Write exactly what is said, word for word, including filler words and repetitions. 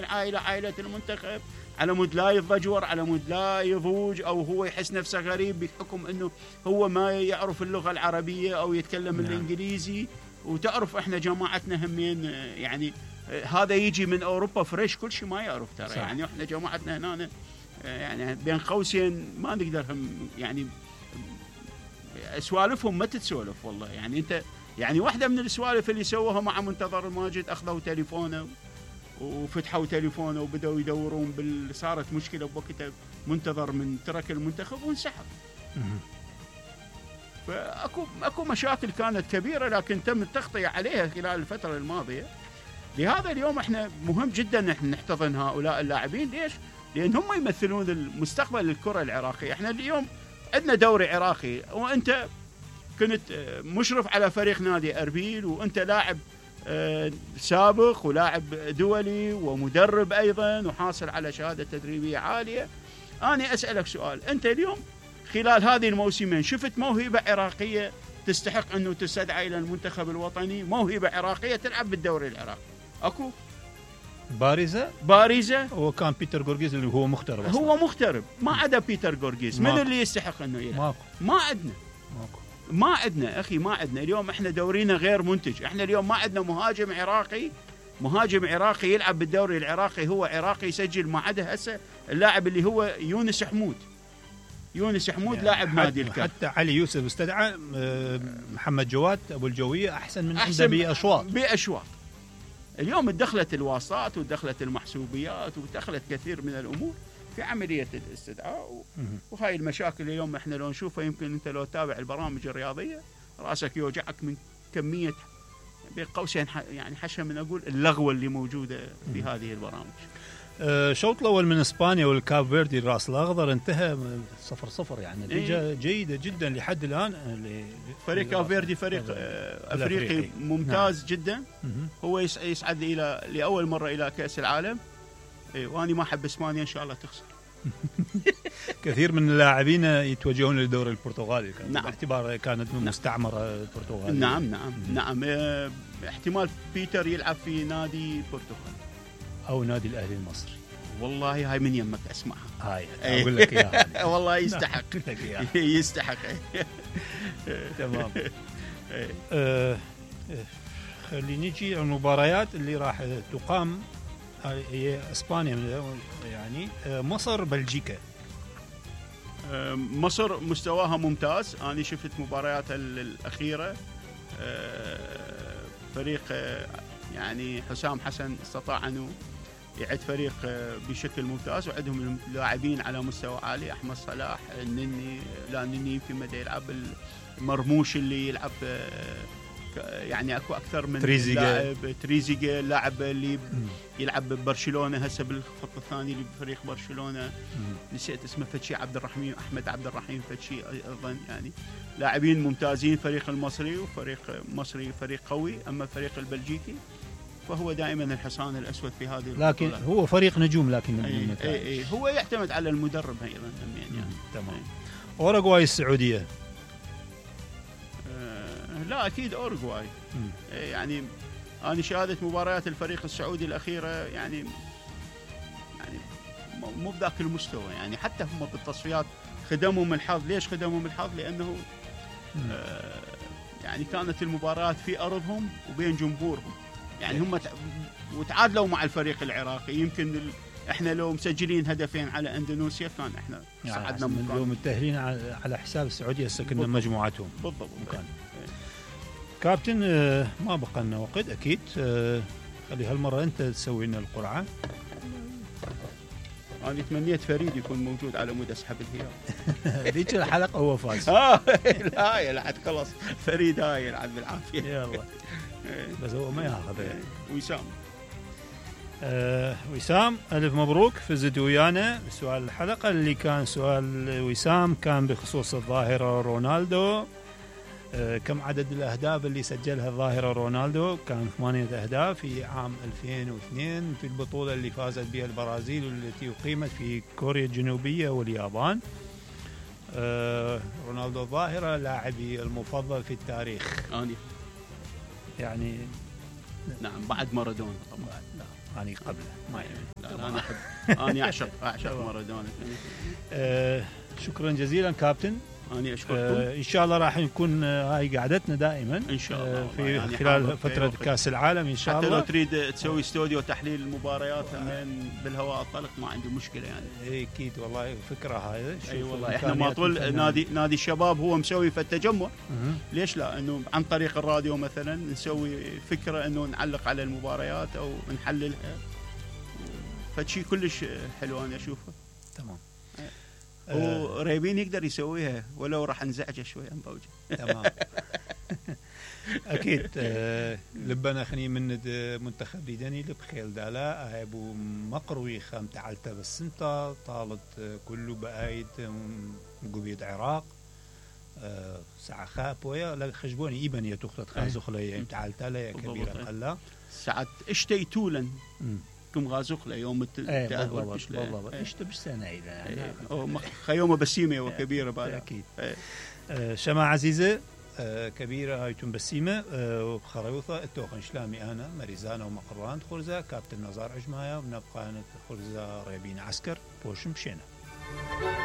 العائلة عائلة المنتخب على مود لا يتضجور، على مود لا يضوج أو هو يحس نفسه غريب بحكم أنه هو ما يعرف اللغة العربية أو يتكلم نعم. الإنجليزي. وتعرف إحنا جماعتنا همين يعني هذا يجي من أوروبا فريش كل شيء ما يعرف ترى صح. يعني إحنا جماعتنا هنا يعني بين قوسين ما نقدر هم يعني سوالفهم ما تتسولف والله. يعني أنت يعني واحدة من السوالف اللي سووها مع منتظر الماجد أخذوا تليفونه وفتحوا تليفونه وبدأوا يدورون بال... صارت مشكلة بوقتها منتظر من ترك المنتخب وانسحب. فأكو أكو مشاكل كانت كبيرة لكن تم التغطية عليها خلال الفترة الماضية. لهذا اليوم احنا مهم جدا نحن نحتضن هؤلاء اللاعبين. ليش؟ لأن هم يمثلون المستقبل الكرة العراقية. احنا اليوم عندنا دوري عراقي وانت كنت مشرف على فريق نادي أربيل وانت لاعب سابق ولاعب دولي ومدرب أيضا وحاصل على شهادة تدريبية عالية. أنا أسألك سؤال، أنت اليوم خلال هذه الموسمين شفت موهبة عراقية تستحق أنه تستدعى إلى المنتخب الوطني؟ موهبة عراقية تلعب بالدوري العراقي أكو بارزة بارزة هو كان بيتر غورغيز اللي هو مغترب أصلاً. هو مغترب ما عدا بيتر غورغيز. من اللي يستحق أنه يلعب؟ ماكو. ما عندنا ماكو. ما عندنا أخي ما عندنا اليوم. إحنا دورينا غير منتج. إحنا اليوم ما عندنا مهاجم عراقي مهاجم عراقي يلعب بالدوري العراقي هو عراقي يسجل. ما عدا هسه اللاعب اللي هو يونس حمود. يونس حمود يعني لاعب نادي الكاف. حتى علي يوسف استدعى محمد جواد أبو الجوية أحسن من عنده بأشواط بأشواط. اليوم اتدخلت الواسطات واتدخلت المحسوبيات واتدخلت كثير من الأمور في عملية الاستدعاء. وهاي المشاكل اليوم احنا لو نشوفها يمكن انت لو تابع البرامج الرياضية رأسك يوجعك من كمية بين قوسين يعني حشا من أقول اللغوة اللي موجودة في هذه البرامج. أه شوط الأول من إسبانيا والكاب فيردي الرأس الأخضر انتهى صفر صفر يعني نتيجة إيه؟ جيدة جدا لحد الآن. فريق كاب فيردي فريق أفريقي ممتاز نعم. جدا. هو يسعد إلى لأول مرة إلى كأس العالم. إيه وأنا ما أحب إسبانيا إن شاء الله تخسر. كثير من اللاعبين يتوجهون للدوري البرتغالي نعم. باعتبار كانت من مستعمرة البرتغال. نعم نعم نعم اه احتمال بيتر يلعب في نادي البرتغال أو نادي الأهلي المصري. والله هاي من يمك أسمعها. هاي أقول لك إياها. والله يستحق يستحق. تمام. أه خلينا نجي على المباريات اللي راح تقام. هي اسبانيا يعني مصر بلجيكا. مصر مستواها ممتاز. انا شفت مبارياتها الاخيره. فريق يعني حسام حسن استطاع انه يعد فريق بشكل ممتاز وعندهم لاعبين على مستوى عالي. احمد صلاح النني لا النني يمكن ما يلعب المرموش اللي يلعب يعني اكو اكثر من تريزيجي. لاعب تريزيجي اللاعب اللي يلعب ببرشلونه هسه بالخط الثاني لفريق برشلونه. نسيت اسمه فتشي عبد الرحيم احمد عبد الرحيم فتشي ايضا. يعني لاعبين ممتازين فريق المصري وفريق مصري فريق قوي. اما الفريق البلجيكي فهو دائما الحصان الاسود في هذه البطولة. لكن هو فريق نجوم لكن أي أي أي هو يعتمد على المدرب ايضا يعني. تمام. اوروغواي السعوديه. لا أكيد أورغواي. يعني أنا شاهدت مباريات الفريق السعودي الأخيرة يعني يعني مو بذاك المستوى. يعني حتى هم بالتصفيات خدمهم الحظ. ليش خدمهم الحظ؟ لأنه آه يعني كانت المباريات في أرضهم وبين جمهورهم. يعني هم وتعادلوا مع الفريق العراقي. يمكن ال... احنا لو مسجلين هدفين على اندونيسيا كان احنا صعدنا يعني اليوم متأهلين على حساب السعودية سكننا مجموعتهم. بالضبط. كابتن ما بقى لنا وقت اكيد. خلي هالمره انت تسوي لنا القرعه. انا تمنيت فريد يكون موجود على مود اسحب الهلال. ذيك الحلقه هو فاز. اه لا يلعب خلاص فريد هاي يلعب بالعافيه. يلا بس هو ما ياخذ يعني. وسام آه وسام الف مبروك فزت ويانا. سؤال الحلقه اللي كان سؤال وسام كان بخصوص الظاهره رونالدو. آه كم عدد الأهداف اللي سجلها الظاهرة رونالدو؟ كان ثمانية أهداف في عام ألفين واثنين في البطولة اللي فازت بها البرازيل والتي أقيمت في كوريا الجنوبية واليابان. آه رونالدو الظاهرة لاعبي المفضل في التاريخ. آني. يعني نعم بعد مارادونا طبعا. نعم اني قبله ما يهم. لا لا انا احب انا اعشق اعشق مارادونا. آه شكرا جزيلا كابتن. أنا أشكركم. آه إن شاء الله راح نكون آه هاي قعدتنا دائما إن شاء الله آه في يعني خلال فترة كأس العالم إن شاء حتى الله. لو تريد تسوي استوديو تحليل المباريات من بالهواء الطلق ما عندي مشكلة يعني. أكيد والله فكرة هاي. أي أيوة والله إحنا ما طول نادي نادي الشباب هو مسوي في التجمع. ليش لا إنه عن طريق الراديو مثلا نسوي فكرة إنه نعلق على المباريات أو نحللها. فشي كلش حلو أنا أشوفه. تمام. وريبين يقدر يسويها ولو راح نزعجه شوي عن بوجه. تمام. اكيد آه لبنا خني من منتخب بيدني لبخيل دالا هاي ابو مقروي خام تعالته بالسنتا طالت آه كله بايد قبيد عراق آه ساعه خاب ويا لا خشبوني ايبن يا تخت خازخليه تعالته لا كبيره قلا ساعه اشتيتولن كم غازوق ليوم التأهل بالضبط بالضبط اشت بالسنه اذا خيومه بسيمه وكبيره بعد اكيد. آه شماعه عزيزه آه كبيره هاي تم بسيمه آه وخريوطه التوخن شلامي انا مريزانا ومقران خرزه كابتن نزار عجمايه ونبقى خرزه ريبين عسكر بوشم شينا.